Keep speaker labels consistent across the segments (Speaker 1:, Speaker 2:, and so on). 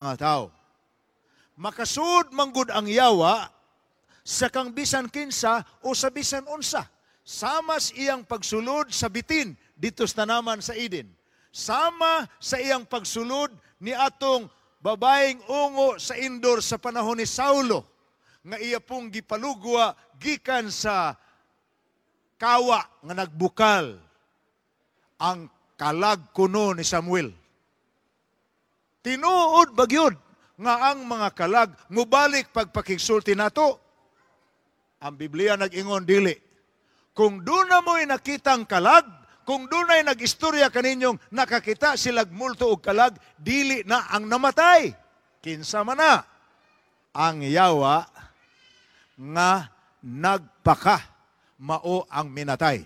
Speaker 1: Mga tao. Makasud manggod ang yawa sa kang bisan kinsa o sa bisan unsa. Samas iyang pagsulod sa bitin dito sa tanaman sa Eden. Sama sa iyang pagsulod ni atong babaeng ungo sa Endor sa panahon ni Saulo nga iya pong gipalugwa gikan sa kawa nga nagbukal ang kalag kuno ni Samuel. Tinuod bagyod nga ang mga kalag mubalik pagpakigsulti nato? Ang Biblia nag-ingon dili. Kung duna mo'y nakitang kalag, kung dunay nag-istorya kaninyong nakakita silag multo og kalag, dili na ang namatay. Kinsa man na? Ang yawa nga nagpaka mao ang minatay.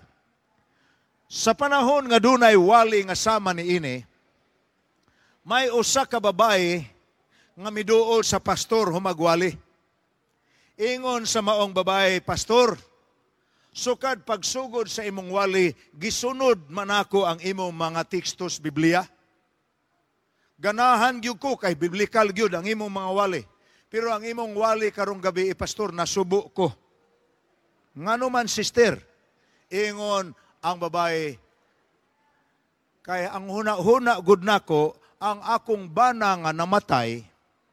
Speaker 1: Sa panahon nga dunay wali nga sama ni ini, may usa ka babae nga miduol sa pastor humagwali. Ingon sa maong babae, "Pastor, sukad pagsugod sa imong wali, gisunod man ako ang imong mga tekstos Biblia. Ganahan gyud ko kay biblical gyud ang imong mga wali. Pero ang imong wali karong gabi, pastor, nasubo ko." "Ngano man, sister?" Ingon ang babae, "Kay ang huna-huna gud nako, ang akong bana nga namatay,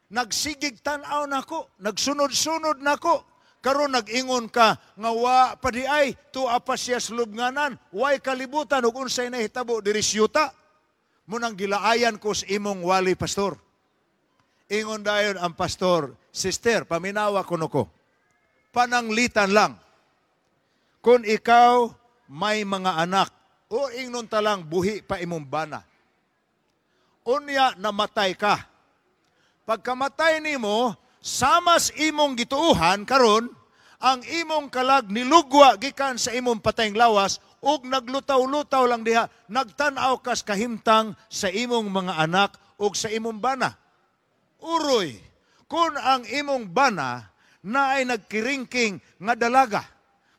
Speaker 1: nagsigig tan-aw nako, nagsunod-sunod nako. Karon nag-ingon ka nga wa pa di ay, tua pa siya sa lubnganan, way kalibutan ug unsay nahitabo diri sa yuta. Munang gilaayan ko sa imong wali, pastor." Ingon dayon ang pastor, "Sister, paminawa kuno ko. Pananglitan lang. Kung ikaw may mga anak o ingnon ta lang buhi pa imong bana, unya namatay ka. Pagkamatay nimo, samas imong gituuhan karon, ang imong kalag nilugwa gikan sa imong patayng lawas ug naglutaw-lutaw lang diha, nagtan-aw kas kahimtang sa imong mga anak ug sa imong bana. Uroy, kung ang imong bana naay nagkiringking nga dalaga,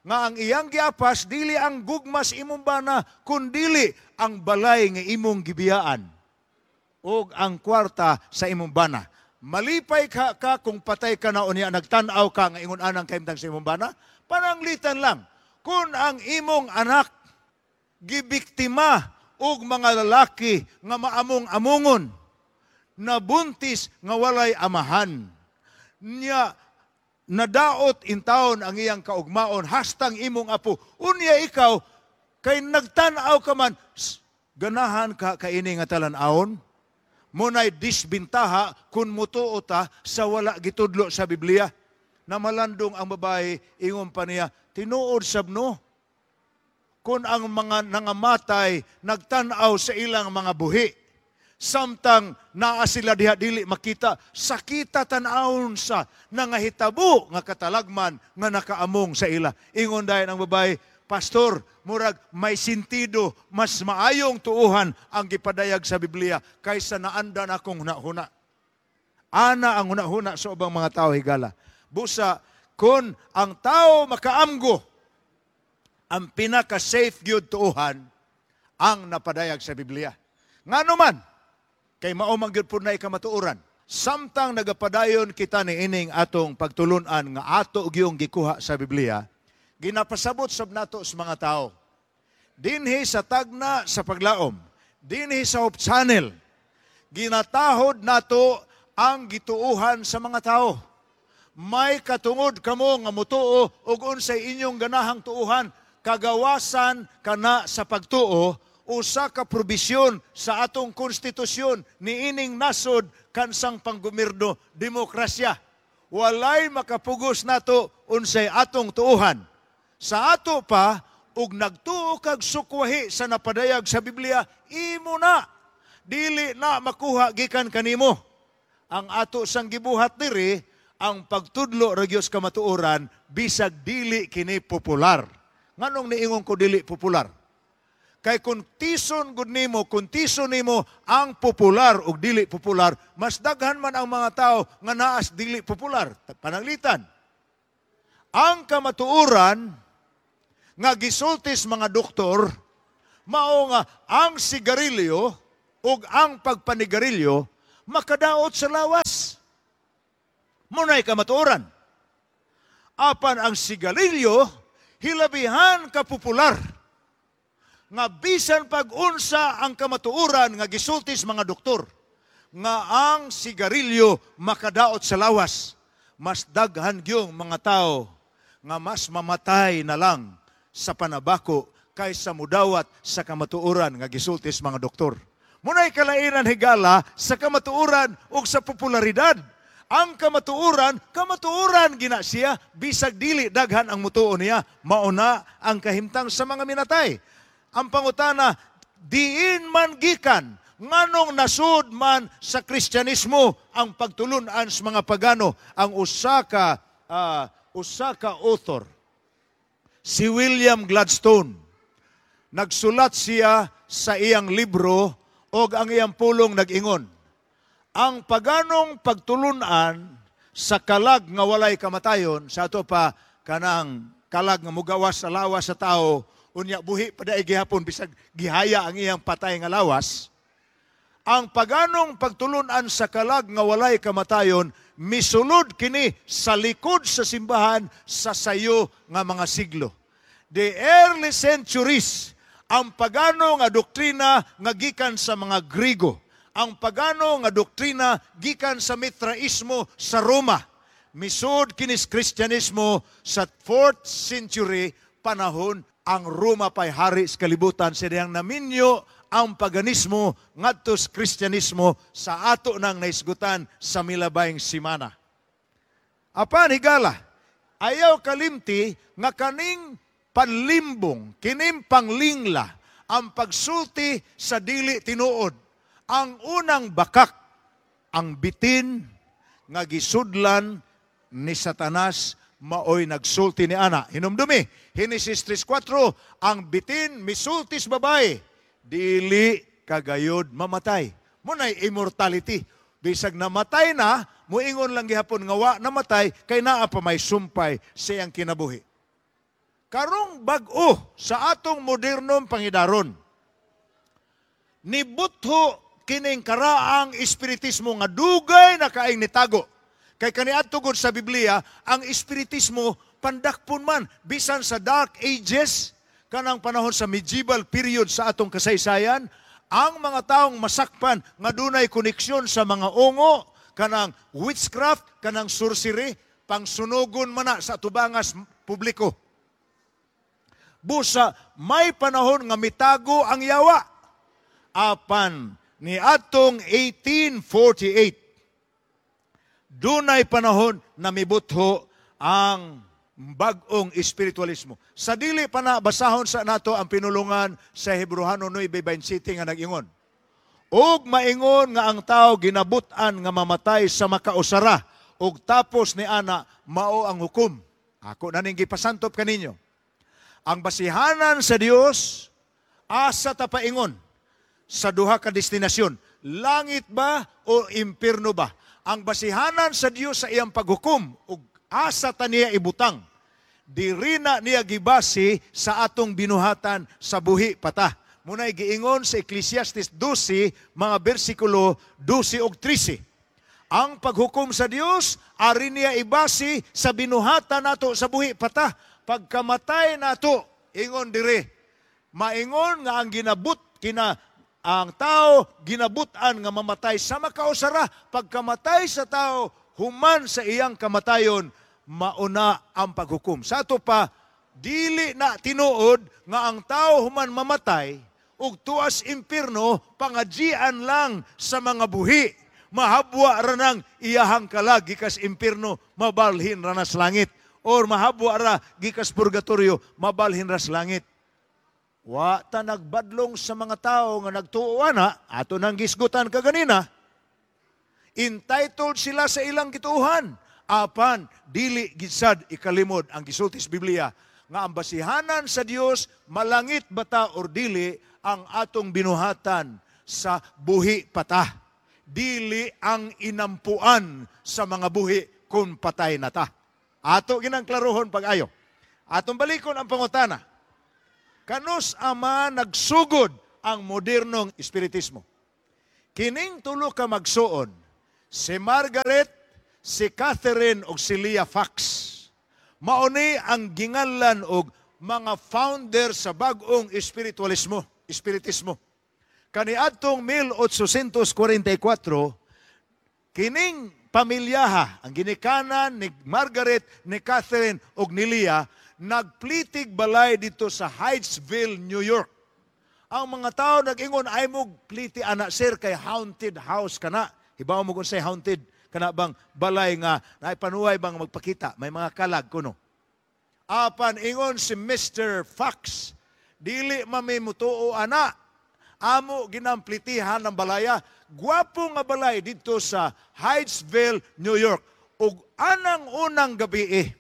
Speaker 1: nga ang iyang giapas dili ang gugma sa imong bana, kundili ang balay nga imong gibiyaan ug ang kwarta sa imong bana. Malipay ka kung patay ka na, unya nagtan-aw ka nga ingon anang kahimtang sa imong bana? Pananglitan lang, kung ang imong anak gibiktima og mga lalaki nga maamong-amongon, nabuntis nga walay amahan, nya nadaot intawon ang iyang kaugmaon hastang imong apo, unya ikaw kay nagtan-aw ka man, ganahan ka kaini nga talan-awon?" Munay disbintaha kung mutuo ta sa wala gitudlo sa Biblia. Namalandong ang babae, ingon pa niya, "Tinuod sab no. Kung ang mga nangamatay nagtan-aw sa ilang mga buhi, samtang naa sila diha dili makita, sakita tan-awon sa nangahitabo nga katalagman nga nakaamong sa ila." Ingon dayon ang babae, "Pastor, murag may sentido, mas maayong tuuhan ang gipadayag sa Biblia kaysa naandan akong hunahuna." Ana ang hunahuna sa ubang mga tao, higala. Busa, kung ang tao makaamgo, ang pinaka-safe gyud tuuhan ang napadayag sa Biblia. Ngano man, kay mao man gyud pud na kamatuoran. Samtang nagapadayon kita ni ining atong pagtulunan nga ato gyung gikuha sa Biblia, ginapasabot sab nato sa mga tao. Dinhi sa Tagna sa Paglaom, dinhi sa Hope Channel, ginatahod nato ang gituuhan sa mga tao. May katungod kamo nga mutuo og unsay inyong ganahang tuuhan, kagawasan kana sa pagtuo, usa ka probisyon sa atong konstitusyon niining nasod kansang panggobyerno, demokrasya. Walay makapugos nato unsay atong tuuhan. Sa ato pa, ug nagtuo kag sukwahi sa napadayag sa Biblia, imo na. Dili na makuha gikan kanimo. Ang ato sang gibuhat diri, ang pagtudlo ra gyud sa kamatuoran bisag dili kini popular. Nganong niingon ko dili popular? Kay kung tison gud nimo, kung tison nimo ang popular ug dili popular, mas daghan man ang mga tao nga naas dili popular. Pananglitan, ang kamatuoran nga gisultis mga doktor, mao nga ang sigarilyo ug ang pagpanigarilyo makadaot sa lawas. Muna'y kamatuoran. Apan ang sigarilyo, hilabihan ka popular. Nga bisan pag-unsa ang kamatuoran nga gisulti sa mga doktor, nga ang sigarilyo makadaot sa lawas, mas daghan gyung mga tao nga mas mamatay na lang sa panabako kaysa mudawat sa kamatuoran nga gisulti sa mga doktor. Muna'y kalainan, higala, sa kamatuoran ug sa popularidad. Ang kamatuoran, kamatuoran gina siya, bisag dili daghan ang mutuo niya, mauna ang kahimtang sa mga minatay. Ang pangutana, diin man gikan, nganong nasud man sa Kristyanismo ang pagtulunan sa mga pagano? Ang usa ka author, si William Gladstone, nagsulat siya sa iyang libro og ang iyang pulong nag-ingon, ang paganong pagtulunan sa kalag nga walay kamatayon, sa ato pa kanang kalag nga mugawas sa lawas sa tao, unya buhi pa daig gihapon bisag gihaya ang iyang patay nga lawas. Ang paganong pagtulunan sa kalag nga walay kamatayon, misulod kini sa likod sa simbahan sa sayo nga mga siglo. The early centuries, ang pagano nga doktrina nga gikan sa mga Grigo, ang pagano nga doktrina gikan sa Mitraismo sa Roma, misud kinis Kristyanismo sa 4th century, panahon ang Roma pa'y hari sa kalibutan, sa dihang naminyo ang paganismo ngadto sa Kristyanismo sa ato nang naisgutan sa milabayng simana. Apan higala, ayaw kalimti nga kaning panlimbong, kining panglingla, ang pagsulti sa dili tinuod, ang unang bakak, ang bitin nga gisudlan ni Satanas maoy nagsulti ni ana. Hinumdumi, Henesis 3:4, ang bitin misulti sa babae, dili kagayod mamatay. Muna'y immortality. Bisag namatay na, muingon lang gihapon nga wa namatay, kay naa pa may sumpay sa iyang kinabuhi. Karong bag-o sa atong modernong pangidaron, nibutho kining karaang espiritismo nga dugay na kaayong nitago. Kay kaniadto gud sa Biblia, ang espiritismo pandakpon man bisan sa Dark Ages, kanang panahon sa medieval period sa atong kasaysayan, ang mga taong masakpan nga dunay koneksyon sa mga ungo, kanang witchcraft, kanang sorcery, pangsunugon man na sa tubangas publiko. Busa may panahon nga mitago ang yawa. Apan ni atong 1848, dunay panahon na mibutho ang bag-ong espiritualismo. Sa dili pa na, basahon sa nato ang pinulungan sa Hebrohano 9:27 nga nag-ingon, "Og maingon nga ang tao ginabut-an nga mamatay sa makausara, ug tapos ni ana mao ang hukom." Ako na ning gipasantop kaninyo. Ang basihanan sa Dios, asa ta paingon sa duha ka destinasyon, langit ba o impierno ba? Ang basihanan sa Dios sa iyang paghukom ug asa ta niya ibutang, diri na niya gibase sa atong binuhatan sa buhi pata. Muna'y giingon sa Ecclesiastes 12, mga bersikulo 12 ug 13. Ang paghukom sa Dios, ari niya ibase sa binuhatan nato sa buhi pata. Pagkamatay nato, ingon dire, maingon nga ang ginabut kina ang tao ginabutan nga mamatay sa makausara. Pagkamatay sa tao, human sa iyang kamatayon, mauna ang paghukom. Sa ato pa, dili na tinuod nga ang tao human mamatay ug tuas impierno, pangajian lang sa mga buhi. Mahabwa ra nang iyahang kalag gikas impierno, mabalhin ra na sa langit. Or mahabwa ra gikas purgatorio, mabalhin ra sa langit. Wa ta nagbadlong sa mga tao nga nagtuo ana, ato nang gisgutan kaganina. Entitled sila sa ilang gituohan. Apan dili gid sad ikalimod ang gisulti sa Biblia nga ang basihanan sa Dios, malangit bata or dili, ang atong binuhatan sa buhi pata. Dili ang inampuan sa mga buhi kung patay na ta. Ato ginang klarohon pag-ayo. Atong balikon ang pangutana. Kanus ama nagsugod ang modernong espiritismo? Kining tulo ka magsuon, Si Margaret, si Catherine ug si Leah Fox. Mauni ang ginganlan og mga founder sa bag-ong espiritualismo, espiritismo. Kaniadtong 1844, kining pamilyaha, ang ginikanan ni Margaret, ni Catherine ug ni Leah, nagplitig balay dito sa Hydesville, New York. Ang mga tao nag-ingon, "Ay mo pliti ana, sir, kay haunted house kana." Hibaw mo kung say haunted, kana bang balay nga naipanuhay bang magpakita, may mga kalag kuno. Apan ingon si Mr. Fox, "Dili mami mutuo ana. Amo ginamplitihan ng balaya." Gwapo nga balay dito sa Hydesville, New York. Ug anang unang gabi eh,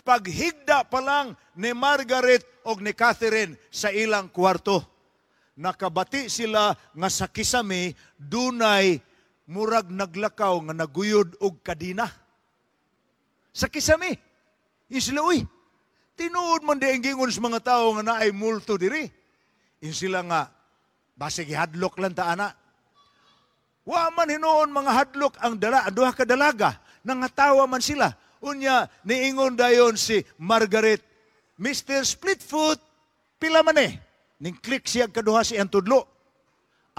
Speaker 1: paghigda pa lang ni Margaret og ni Catherine sa ilang kwarto, nakabati sila nga sa kisame dunay murag naglakaw nga naguyod og kadina. Sa kisame. Ingon sila, "Uy, tinuod man di ang gingon sa mga tao nga naay multo diri." Ingon sila nga, "Basig hadlok lang ta ana." Wa man hinuon mga hadlok ang dala, ang duha ka dalaga, nangatawa man sila. Unya, niingon dayon si Margaret, "Mr. Splitfoot, pila man eh?" Ning click siya kaduha si tudlo.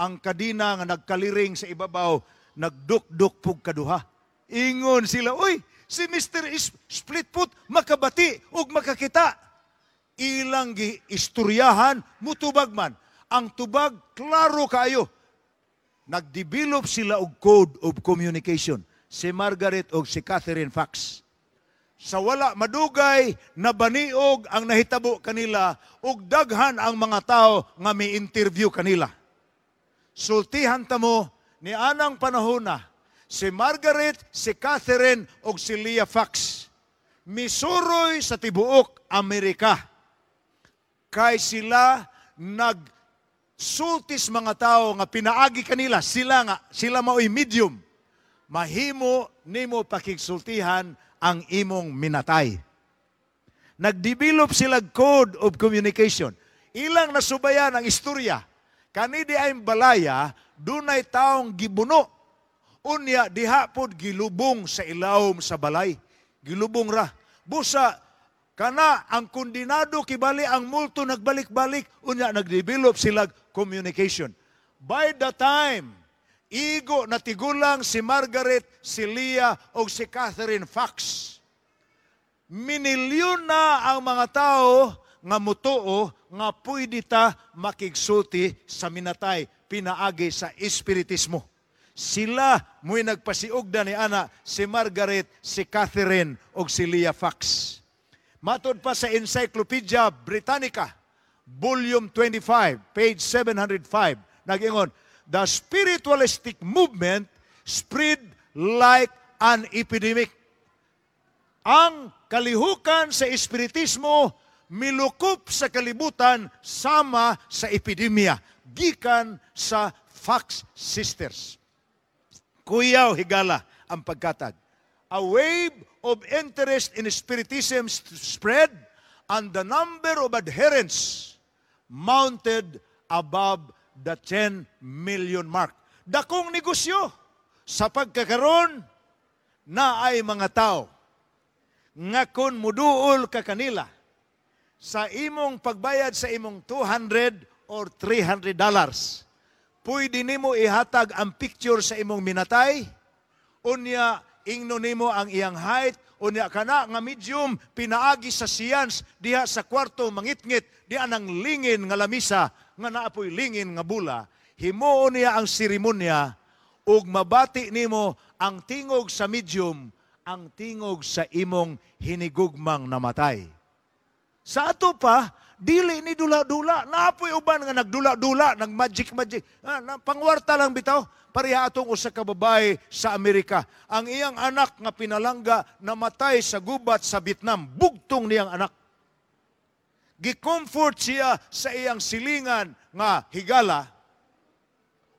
Speaker 1: Ang kadina nga nagkaliring sa ibabaw, nagdukduk pug kaduha. Ingon sila, "Uy, si Mr. Splitfoot makabati ug makakita." Ilang giistoryahan, mutubag man. Ang tubag, klaro kaayo. Nagdevelop sila og code of communication. Si Margaret og si Catherine Fox. Sa wala madugay, nabaniog ang nahitabo kanila ug daghan ang mga tao nga mi interview kanila. Sultihan ta mo ni anang panahon na si Margaret, si Catherine ug si Leah Fox misuroy sa tibuok Amerika. Kay sila nagsultis mga tao nga pinaagi kanila, sila nga sila maoy medium. Mahimo nimo pakigsultihan ang imong minatay. Nagdevelop sila code of communication. Ilang nasubayan ang istorya. Kani di ay balaya, dunay taong gibuno. Unya diha pod gilubong sa ilawom sa balay. Gilubong ra. Busa kana ang kondinado kibali ang multo nagbalik-balik, unya nagdevelop sila communication. By the time igo na tigulang si Margaret, si Leah o si Catherine Fox, minilyon na ang mga tao nga mutuo nga pwede ta makigsulti sa minatay pinaagi sa espiritismo. Sila mo'y nagpasiugda ni ana, si Margaret, si Catherine ug si Leah Fox. Matod pa sa Encyclopedia Britannica, Volume 25, page 705, nag-ingon, "The spiritualistic movement spread like an epidemic." Ang kalihukan sa espiritismo milukop sa kalibutan sama sa epidemya gikan sa Fox Sisters. Kuyaw higala ang pagkatag. A wave of interest in spiritism spread and the number of adherents mounted above the 10 million mark. Dakong negosyo sa pagkakaroon na ay mga tao nga kung muduol ka kanila sa imong pagbayad sa imong 200 or $300, pwede nimo ihatag ang picture sa imong minatay, unya ingno nimo ang iyang height, unya kana nga medium pinaagi sa science diha sa kwarto mangitngit diha nang lingin nga lamisa nga naapoy lingin nga bula, himuon niya ang seremonya ug mabati nimo ang tingog sa medium, ang tingog sa imong hinigugmang namatay. Sa ato pa, dili ni dula-dula. Naapoy uban nga nagdula-dula, nag-magic-magic. Ah, pangwarta lang bitaw. Pareha atong usa ka babae sa Amerika. Ang iyang anak nga pinalangga namatay sa gubat sa Vietnam. Bugtong niyang anak. Gi-comfort siya sa iyang silingan nga higala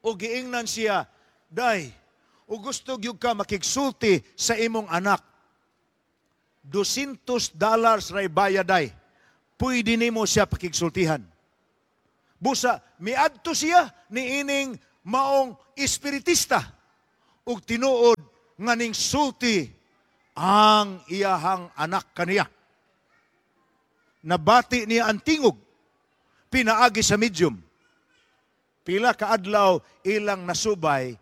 Speaker 1: o giingnan siya, "Day, o gusto gyud ka makigsulti sa imong anak. $200 ray bayad, day. Pwede nimo siya pakigsultihan." Busa, miadto siya ni ining maong espiritista. Ug tinuod nga ning sulti ang iyahang anak kaniya. Nabati niya ang tingog pinaagi sa medium. Pila ka adlaw ilang nasubay,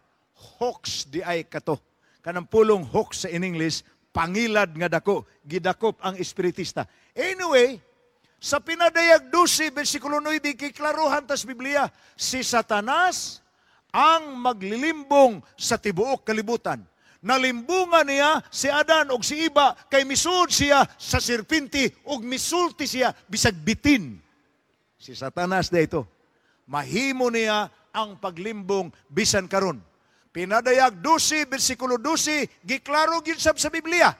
Speaker 1: hoax diay kato. Kanang pulong hoax sa in English, pangilad nga dako, gidakop ang espiritista. Anyway, sa Pinadayag 12, versikulo 9, kiklaruhan tas Biblia, si Satanas ang maglilimbong sa tibuok kalibutan. Nalimbungan niya si Adan og si Iba kay misud siya sa serpente ug misulti siya bisag bitin. Si Satanas dito. Mahimo niya ang paglimbong bisan karon. Pinadayag 12, versikulo 12, giklaro gyud sab sa Biblia.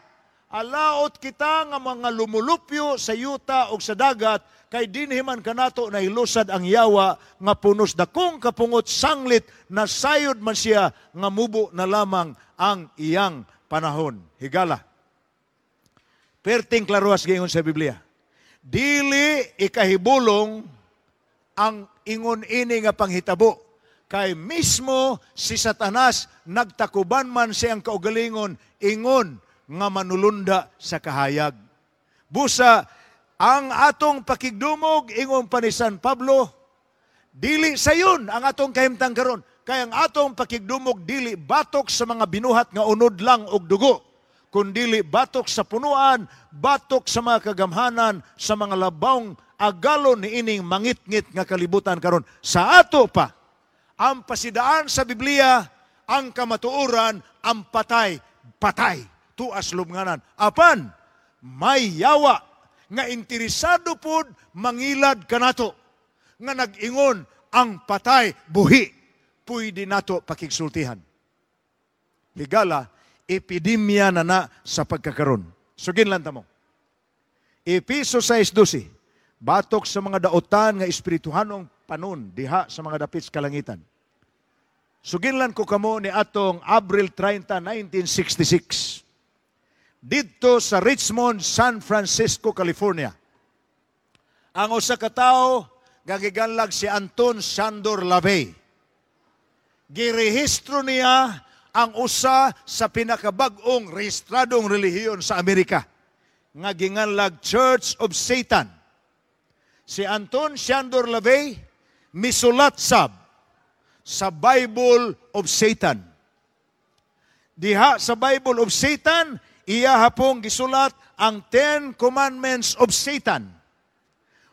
Speaker 1: Alaot kita nga mga lumulupyo sa yuta o sa dagat, kay dinhi man kanato nahilusad ang yawa nga punos dakong kapungot sanglit na sayod man siya nga mubo na lamang ang iyang panahon. Higala. Perting klaruas giingon sa Biblia. Dili ikahibulong ang ingon ini nga panghitabo kay mismo si Satanas nagtakuban man siyang kaugalingon ingon nga manulunda sa kahayag. Busa ang atong pakigdumog, ingon pa ni San Pablo, dili sayon ang atong kahimtang karon kay ang atong pakigdumog dili batok sa mga binuhat nga unod lang og dugo, kundili batok sa punuan, batok sa mga kagamhanan, sa mga labawng agalon niining mangitngit nga kalibutan karon. Sa ato pa ang pasidaan sa Biblia, ang kamatuoran, ang patay, patay tuas lubnganan. Apan may yawa nga interesado pod mangilad kanato nga nag-ingon ang patay buhi, pwede nato pakigsultihan. Higala, epidemya na na sa pagkakaron. Sugin lang tamo. Episo 6:12, batok sa mga daotan nga espirituhanong panon diha sa mga dapit sa kalangitan. Suginlan ko kamo ni atong Abril 30, 1966. Didto sa Richmond, San Francisco, California. Ang usa ka tawo nga giganlag si Anton Szandor LaVey. Girehistro niya ang usa sa pinakabag-ong rehistradong relihiyon sa Amerika nga ginganlag Church of Satan. Si Anton Szandor LaVey misulat sab sa Bible of Satan. Diha sa Bible of Satan, iya hapong gisulat ang Ten Commandments of Satan.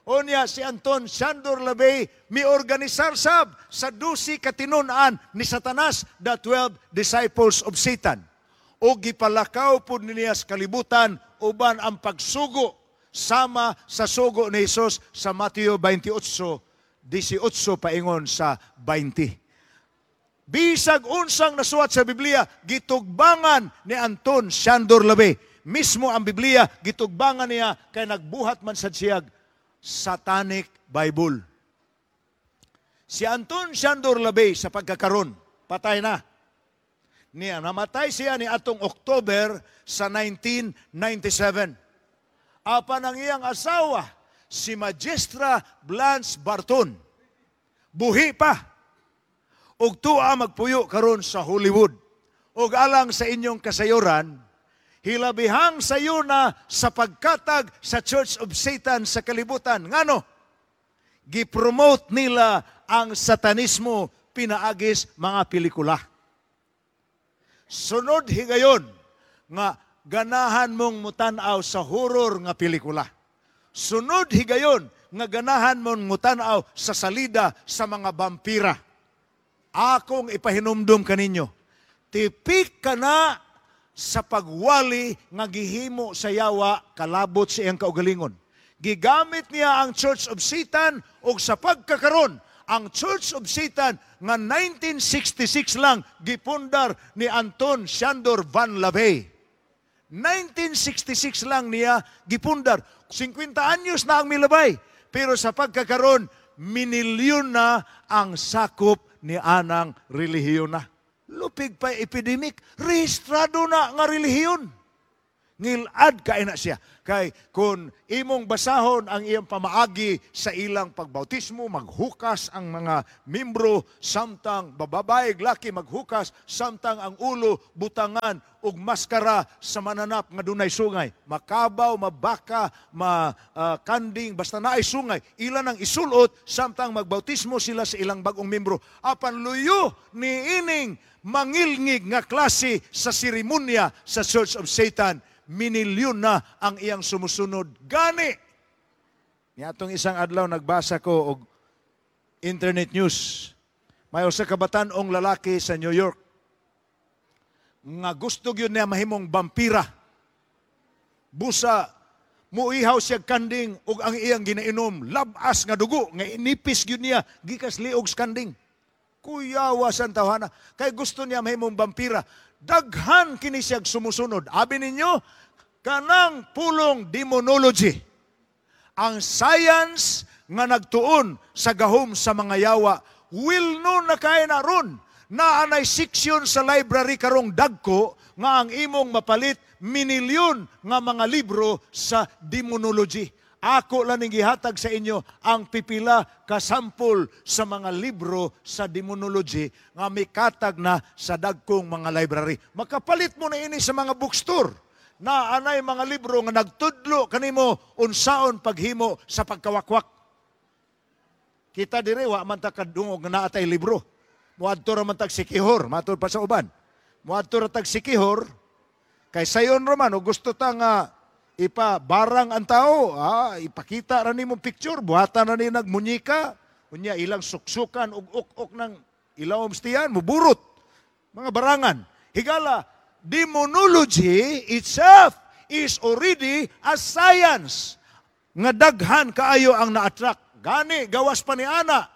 Speaker 1: Unya si Anton Szandor LaVey miorganisar sab sa 12 katinun-an ni Satanas, the 12 disciples of Satan. O gipalakaw pud niya sa kalibutan uban ang pagsugo sama sa sugo ni Jesus sa Mateo 28:18 paingon sa 20. Bisag unsang nasuwat sa Biblia, gitugbangan ni Anton Szandor LaVey. Mismo ang Biblia, gitugbangan niya kay nagbuhat man sa siyag Satanic Bible. Si Anton Szandor LaVey sa pagkakaron, patay na. Niya, namatay siya ni atong October sa 1997. Apan ang iyang asawa, si Magistra Blanche Barton, buhi pa. Ug tuwa magpuyo karon sa Hollywood. Ug alang sa inyong kasayuran, hilabihang sayo na sa pagkatag sa Church of Satan sa kalibutan. Ngano? Gipromote nila ang satanismo pinaagis mga pelikula. Sunod higayon nga ganahan mong mutan-aw sa horror nga pelikula. Sunod higayon nga ganahan mong mutan-aw sa salida sa mga vampira. Akong ipahinumdum kaninyo, tipik ka na sa pagwali nga gihimo sa yawa kalabot sa iyang kaugalingon. Gigamit niya ang Church of Satan og sa pagkakaron, ang Church of Satan nga 1966 lang gipundar ni Anton Szandor Van LaVey. 1966 lang niya gipundar. 50 anyos na ang milabay. Pero sa pagkakaron, minilyon na ang sakop ni anang relihiyon na. Lupig pa epidemic, rehistrado na nga relihiyon. Ngilad kay na siya. Kay kung imong basahon ang iyang pamaagi sa ilang pagbautismo, maghukas ang mga membro samtang bababae, laki maghukas samtang ang ulo butangan og maskara sa mananap nga dunay sungay. Makabaw, mabaka, ma kanding, basta naay sungay, ilan ang isulot samtang magbautismo sila sa ilang bagong membro. Apan luyo ni ining mangilngig nga klase sa seremonya sa Church of Satan, minilyon na ang iyang sumusunod. Gani, niatong isang adlaw nagbasa ko og internet news. May usa ka batan-ong lalaki sa New York nga gusto gyud niya mahimong bampira. Busa muihaw siya kanding ug ang iyang ginainom labas nga dugo nga inipis gyud niya gikas liog sa kanding. Kuyawa sa tawhana kay gusto niya mahimong bampira. Daghan kini siyag sumusunod. Abi ninyo, kanang pulong demonology, ang science nga nagtuon sa gahom sa mga yawa, will no na kay na ron. Naanay section sa library karong dagko nga ang imong mapalit minilyon nga mga libro sa demonology. Ako lang ning gihatag sa inyo ang pipila ka sample sa mga libro sa demonology nga mikatag na sa dagkong mga library. Makapalit mo na ini sa mga bookstore. Na anay mga libro nga nagtudlo kanimo unsaon paghimo sa pagkawakwak. Kita dire wa man ta kadungog nga naa tay libro. Moadto ra man tag Sikihor, matud pa sa uban. Moadto ra tag Sikihor kay sayon ra man og gusto ta nga ipa barang ang tao, ipakita ra nimo picture, buhatan ra ni nagmunyika, unya ilang suksukan ug ok-ok ng ilawom tiyan, muburot. Mga barangan. Higala, demonology itself is already a science. Nga daghan kaayo ang na-attract. Gani, gawas pa ni ana.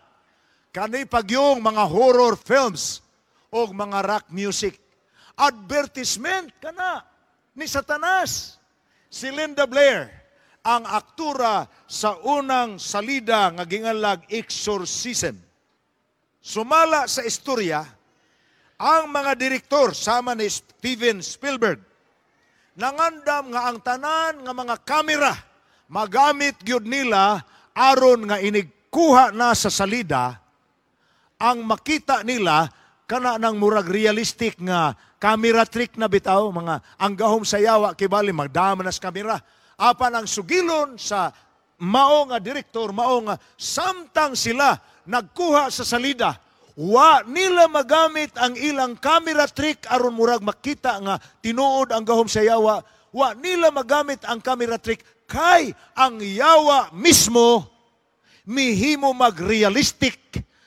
Speaker 1: Kani pagyong mga horror films o mga rock music. Advertisement kana ni Satanas. Si Linda Blair, ang aktura sa unang salida nga gingalag Exorcism. Sumala sa istorya, ang mga direktor sama ni Steven Spielberg nangandam nga ang tanan nga mga kamera magamit gyud nila aron nga inigkuha na sa salida, ang makita nila kana ng murag realistic nga camera trick na bitaw, mga ang gahom sa yawa kibali magdama na sa kamera. Apan ang sugilon sa mao nga direktor, mao nga samtang sila nagkuha sa salida, wa nila magamit ang ilang camera trick aron murag makita nga tinuod ang gahom sa yawa. Wa nila magamit ang camera trick kay ang yawa mismo mihimo mag-realistic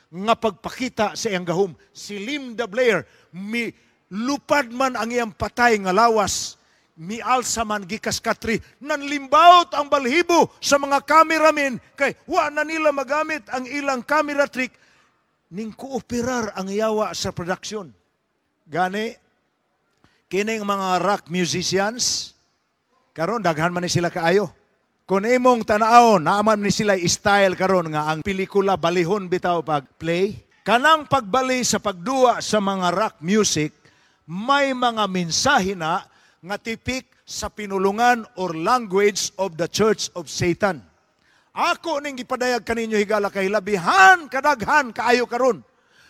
Speaker 1: nga pagpakita sa iyang gahom. Si Linda Blair, mi lupad man ang iyang patay nga lawas, mialsa man gikas katri, nanlimbawot ang balhibo sa mga cameramen kay wa na nila magamit ang ilang camera trick, ning kooperar ang yawa sa production. Gani, kining mga rock musicians, karon daghan man ni sila kaayo. Kung imong tanawon, naaman ni sila style karon nga ang pelikula balihon bitaw pag play. Kanang pagbali sa pagduwa sa mga rock music, may mga mensahe na nga tipik sa pinulungan or language of the Church of Satan. Ako ning gipadayag kaninyo, higala, kay labihan kadaghan kaayo karon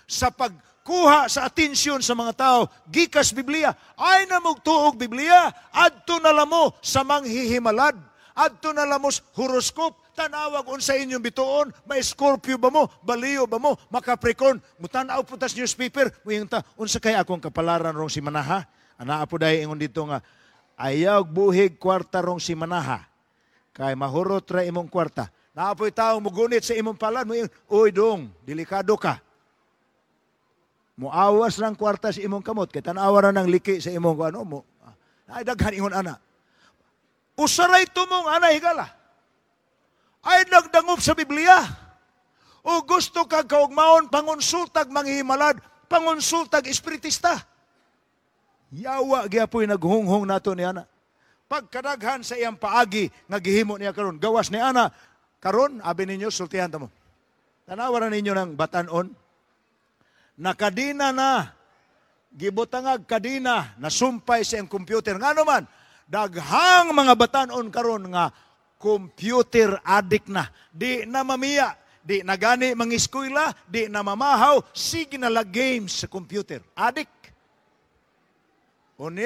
Speaker 1: sa pagkuha sa atensyon sa mga tao gikas Biblia. Ay na mugtuog Biblia, adto na lamo sa manghihimalad, adto na lamo sa horoscope. Tanawag unsa inyong bituon, may Scorpio ba mo, Baliw ba mo, maka-Capricorn, mutanaw po tas newspaper, muyang ta, unsa kay akong kapalaran rong simanaha? Anaa po dahil ingon dito nga, ayaw buhig kwarta rong simanaha, kay mahurot ra imong kwarta. Naa po'y tao mugunit sa imong palad, mo, "Uy dong, delikado ka." Muawas lang kwarta sa imong kamot, kay tanawa ra ng liki sa imong ano mo. Ay daghan ingon ana. Usaray tumong ana, higala. Ay nagdangop sa Biblia. O gusto kag kaugmaon, pangonsultag manghihimalad, pangonsultag espiritista. Yawa gyapoy naghunghong nato ni ana. Pagkadaghan sa iyang paagi nga gihimo niya karon, gawas ni ana karon, abi ninyo, sultihan ta mo. Tanawa na ninyo ng batanon. Nakadina na, gibutangag kadina, nasumpay sa iyang computer. Ngano man, Daghang mga batanon karon nga computer addict na. Di na mamiya, di na gani mangiskwela, di na mamahaw, sige na lang games sa computer. Addict. Unya